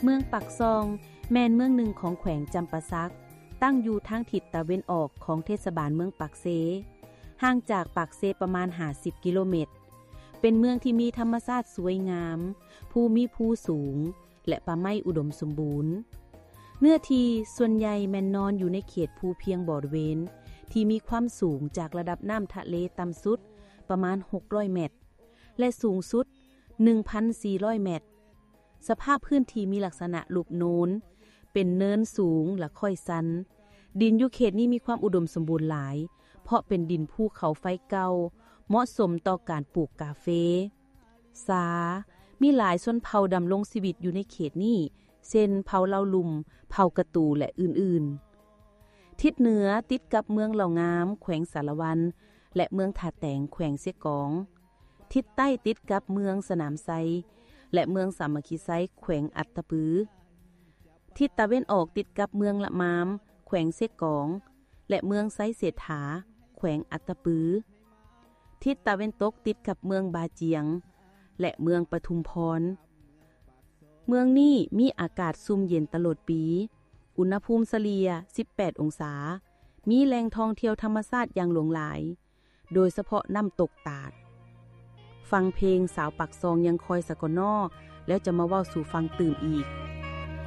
ເມືອງປາກຊ່ອງ ແມ່ນເມືອງໜຶ່ງຂອງແຂວງຈຳປາສັກ, ຕັ້ງຢູ່ທາງທິດຕາເວັນອອກຂອງເທດສະບານເມືອງປາກເຊ, ຫ່າງຈາກປາກເຊປະມານຫ້າສິບກິໂລແມັດ. ເປັນເມືອງທີ່ມີທຳມະຊາດສວຍງາມ, ພູມີພູສູງ ແລະ ປ່າໄມ້ອຸດົມສົມບູນ. ເນື້ອທີ່ສ່ວນໃຫຍ່ແມ່ນນອນຢູ່ໃນເຂດພູພຽງບໍລິເວນ ທີ່ມີຄວາມສູງຈາກລະດັບນ້ຳທະເລຕ່ຳສຸດປະມານຫົກຮ້ອຍແມັດ ແລະ ສູງສຸດໜຶ່ງພັນສີ່ຮ້ອຍແມັດ. ສະພາບພື້ນທີ່ມີລັກສະນະລູບໂນນ, ເປັນເນີນສູງ ແລະ ຄ້ອຍຊັນ. ດິນຢູ່ເຂດນີ້ມີຄວາມອຸດົມສົມບູນຫຼາຍ, ເພາະເປັນດິນພູເຂົາໄຟເກົ່າ, ເໝາະສົມຕໍ່ການປູກກາເຟ. ສາ ມີຫຼາຍຊົນເຜົ່າດຳລົງຊີວິດຢູ່ໃນເຂດນີ້, ເຊັ່ນ ເຜົ່າເລົ່າລຸ່ມ, ເຜົ່າກະຕູ ແລະ ອື່ນໆ. ທິດເໜືອຕິດກັບເມືອງເຫຼົ່າງາມ ແຂວງສາລະວັນ ແລະ ເມືອງທ່າແຕງ ແຂວງເຊກອງ. ທິດໃຕ້ຕິດກັບເມືອງສະໜາມໄຊ ແລະ ເມືອງສາມັກຄີໄຊ ແຂວງອັດຕະປື. ທິດຕາເວັນອອກຕິດກັບເມືອງລະມາມ ແຂວງເຊກອງ ແລະ ເມືອງໄຊເສດຖາ ແຂວງອັດຕະປື. ທິດຕາເວັນຕົກຕິດກັບເມືອງບາຈຽງ ແລະ ເມືອງປະທຸມພອນ. ເມືອງນີ້ມີອາກາດຊຸ່ມເຢັນຕະຫຼອດປີ, ອຸນຫະພູມສະເລ່ຍສິບແປດອົງສາ, ມີແຫຼ່ງທ່ອງທ່ຽວທຳມະຊາດຢ່າງຫຼວງຫຼາຍ, ໂດຍສະເພາະນ້ຳຕົກຕາດ. ຟັງເພງສາວປາກຊ່ອງຍັງຄອຍສະກອນນໍ ແລ້ວຈະມາເວົ້າສູ່ຟັງຕື່ມອີກ.